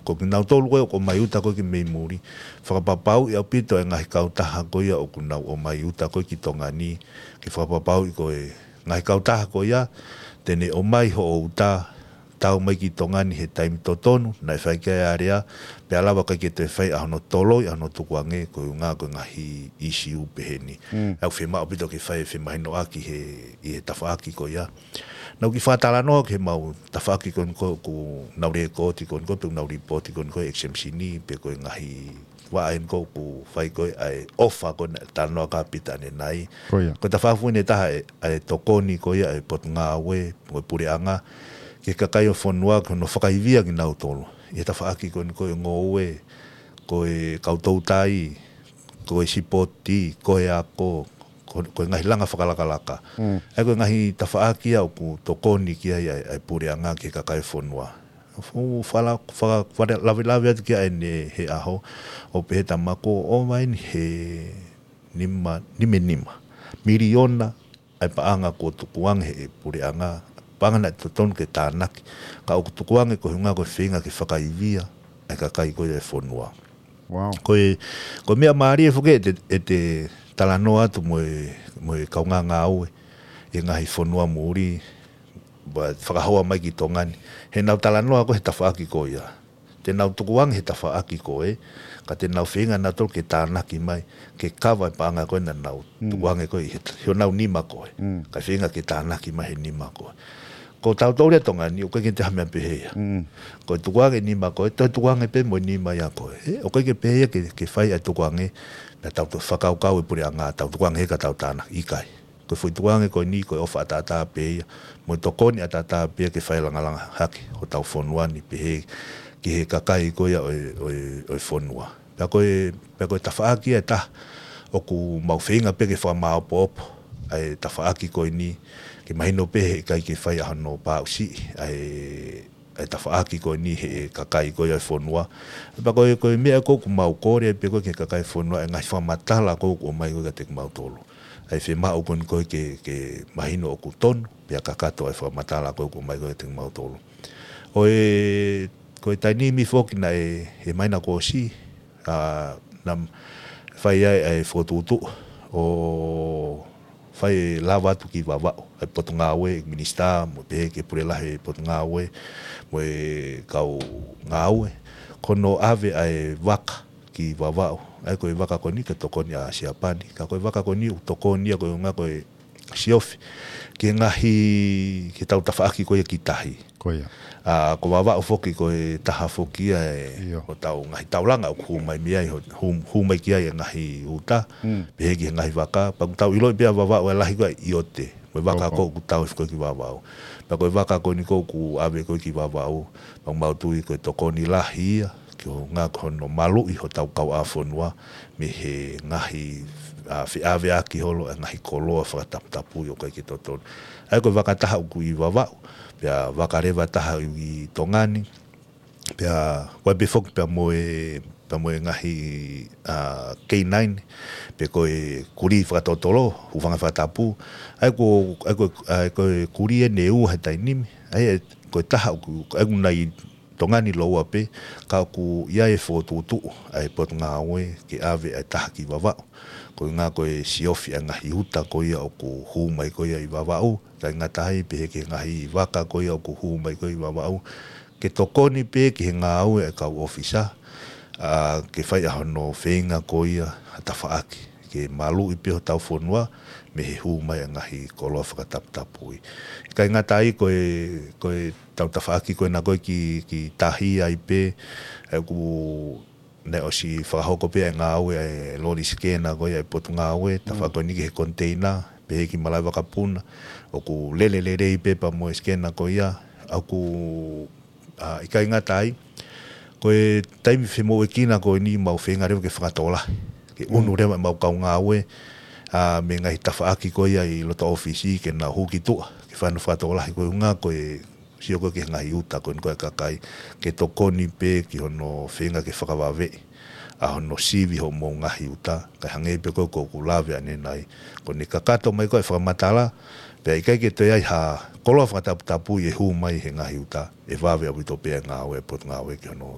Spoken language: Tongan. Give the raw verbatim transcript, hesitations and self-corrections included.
Ko kinautolu ko ē ʻoku ʻomai uta ko ē ki mei muli, fakapapauʻi ʻaupito e ngaahi kautaha ko ia ʻoku nau ʻomai uta ko ē ki Tonga ni, ke fakapapauʻi ko e ngaahi kautaha ko ia te ne ʻomai hoʻo uta, tau mai ki Tonga ni he taimi totonu, naʻe fai ki ai e alea, pea lava ʻikai ke toe fai ʻa hono toloi, ʻa hono tukuange, ko e ʻuhinga ko e ngaahi ʻisiū pehē ni. ʻOku fiemaʻu ʻaupito ke fai e femahinoʻaki he, ʻi he tafaʻaki ko ia. Naʻá ku kiʻi fakatalanoa ki he mau tafaʻaki ko eni ko ē ʻoku nau lēkooti ko eni ko ē pe ʻoku nau lipooti ko eni ko ē exemption ni pe ko e ngaahi vaʻa eni ko ē ʻoku fai ko ē ʻa e ʻofa ko ē naʻe talanoa ki ai Pita ʻanenai. Ko ia. Ko e tafaʻaki foʻou eni ʻe taha ʻa e, ʻa e tokoni ko ia ʻa e Potungāue, ko e puleʻanga, ki he kakai ʻo e fonua, ko hono fakaivia kinautolu. ʻI he tafaʻaki ko eni ko e ngoue, ko e kau toutai, ko e sipoti, ko e ako, ko, ko e ngaahi langa fakalakalaka. ʻA ia ko e ngaahi tafaʻaki ia ʻoku tokoni ki ai ʻa e, ʻa e puleʻanga ki he kakai ʻo e fonua. Fu-, fala-, fala-, fala-, lavelave atu ki ai ʻanenai he ʻaho, ʻo pehē ʻe Tama ko ʻova eni he nima, nima nima miliona ʻa e paʻanga kuo tukuange he puleʻanga, paʻanga naʻe totonu ke tānaki, ka ʻoku tukuange ko e ʻuhinga ko e feinga ke fakaivia ʻa e kakai ko ia ʻo e fonua. Wow. Ko e, ko e meʻa mālie foki ʻete, ʻete talanoa atu mo e, mo e kaungā ngāue ʻi he ngaahi fonua muli, ʻoku fakahoa mai ki Tonga ni. He nau talanoa ko ē he tafaʻaki ko ia. Te nau tukuange he tafaʻaki ko ē, ka te nau feinga nautolu ke tānaki mai, ke kava e paʻanga ko ē naʻa nau tukuange ko ē he, he ʻenau nima ko ē. Ka feinga ke tānaki mai he nima ko ē. Ko tautolu ia ʻi Tonga ni, ʻoku ʻikai ke te ha meʻa pehē ia. Ko e tukuange nima ko ē, toe tukuange pē mo e nima ia ko ē. ʻE, ʻoku ʻikai ke pehē ia ke, ke fai ʻa e tukuange, naʻa tau toe fakakaukau e puleʻanga, tau tukuange he ka tau tānaki, ʻikai. Ko e foʻi tukuange ko eni, ko e ʻofa ʻataʻatā pē ia, mo e tokoni ʻataʻatā pē ia ke fai langalanga hake hotau fonua ni pehē ki he kakai ko ia ʻo e, ʻo e, ʻo e fonua. Pea ko e, pea ko e tafaʻaki ia ʻe taha, ʻoku mau feinga pē ke fakamāopoopo ʻa e tafaʻaki ko eni, ke mahino pē he ʻikai ke fai ʻa hono paʻusiʻi ʻa e, ʻa e tafaʻaki ko eni he kakai ko ia ʻo e fonua. Pea ko e, ko e meʻa ko ē ʻoku mau kole ai pē ko ē ki he kakai ʻo e fonua, ʻa e ngaahi fakamatala ko ē ʻoku ʻomai ko ē kiate kimautolu. ʻA e fiemaʻu ko eni ko ē ke, ke mahino ʻoku tonu, pea kakato ʻa e fakamatala ko ē ʻoku ʻomai ko ē kiate kimautolu. ʻO e, ko e taimi foki naʻe, he māhina kuo ʻosi, ʻa, naʻe fai ai ʻa e fokotuʻutuʻu ʻo fai e lava atu ki Vavaʻu, ʻa e Potungāue, Minisitā, mo e pehē ki he Pule Lahi ʻo e Potungāue, mo e kau ngāue, ko hono ʻave ʻa e vaka ki Vavaʻu. ʻA ia ko e vaka ko eni ko e tokoni ʻa Siapani. Ka ko e vaka ko eni ʻoku tokoni ia ko e ʻuhinga ko e siofi ki he ngaahi, ki heʻetau tafaʻaki ko ia ki tahi. Ko ia. ʻA, ko Vavaʻu foki ko e taha foki ia ʻo ʻetau ngaahi taulanga ʻoku hū mai mei ai, hū, hū mai ki ai e ngaahi uta, pehē ki he ngaahi vaka, pea ʻoku tau ʻiloʻi pē ʻa Vavaʻu ʻa e lahi ko ē ʻiote. Mo e vaka ko ē ʻoku tau ʻi foki ki Vavaʻu. Pea ko e vaka ko eni ko ē ʻoku ʻave ko ē ki Vavaʻu, pea ʻoku mau tui ko e tokoni lahi ia, ki he ʻuhinga ko hono maluʻi hotau kauʻāfonua, mei he ngaahi, ʻa, feʻaveʻaki holo ʻa e ngaahi koloa fakataputapui ʻoku ʻikai ke totonu. ʻA ia ko e vaka ʻe taha ʻoku ʻi Vavaʻu, pea vaka leva ʻe taha ʻi Tonga ni, pea, ʻoku ʻi ai pē foki pea mo e, pea mo e ngaahi, ʻa, K nine, pe ko e kulī fakatotolo, hūfanga he fakatapu. ʻA ia ko, ʻa ia ko, ʻa ia ko e kulī ʻe ua he taimi ni. ʻA ia ko e taha ʻoku, ʻa ia ʻoku nau ʻi Tonga ni lōua pē, ka ʻoku ʻi ai e fokotuʻutuʻu ʻa e Potungāue ke ʻave ʻa e taha ki Vavaʻu. Ko e ʻuhinga ko e siofi ʻa e ngaahi uta ko ia ʻoku hū mai ko ia ʻi Vavaʻu, ʻikai ngata ai pē he ki he ngaahi vaka ko ia ʻoku hū mai ko ia ʻi Vavaʻu, ke tokoni pē ki he ngāue ʻa e kau ʻōfisa, ʻa, ke fai ʻa hono feinga ko ia ʻa e tafaʻaki, ke maluʻi pē hotau fonua, mei he hū mai ʻa e ngaahi koloa fakataputapui. ʻIkai ngata ai ko e, ko ʻetau tafaʻaki ko ena ko ē ki, ki tahi ai pē, ʻa ia ʻoku naʻe ʻosi fakahoko pē ʻa e ngāue ʻa e loli sikena ko ia ʻa e Potungāue, tafaʻaki ko eni ki he koniteina, pehē ki Malaʻevakapuna, ʻoku lele lelei pē pea mo e sikena ko ia, ʻa ʻoku, ʻa, ʻikai ngata ai, ko e taimi femoʻuekina ko eni mau feinga leva ke fakatokolahi, ke ʻunu leva ʻemau kau ngāue, ʻa, mei he ngaahi tafaʻaki ko ia ʻi loto ʻōfisi ke nau hū ki tuʻa, ke fai hano fakatokolahi ko e ʻuhinga ko e sio ko ē ki he ngaahi uta ko eni ko ē ʻa e kakai, ke tokoni pē ki hono feinga ke fakavaveʻi ʻa hono sivi hoʻomou ngaahi uta, kae hangē pē ko ē ʻoku ou lave ʻanenai, ko ʻene kakato mai ko ē ʻa e fakamatala, pea ʻikai ke toe ʻi ai ha koloa fakataputapui ʻe hū mai he ngaahi uta, ʻe vave ʻaupito pē ʻa e ngāue ʻa e Potungāue ki hono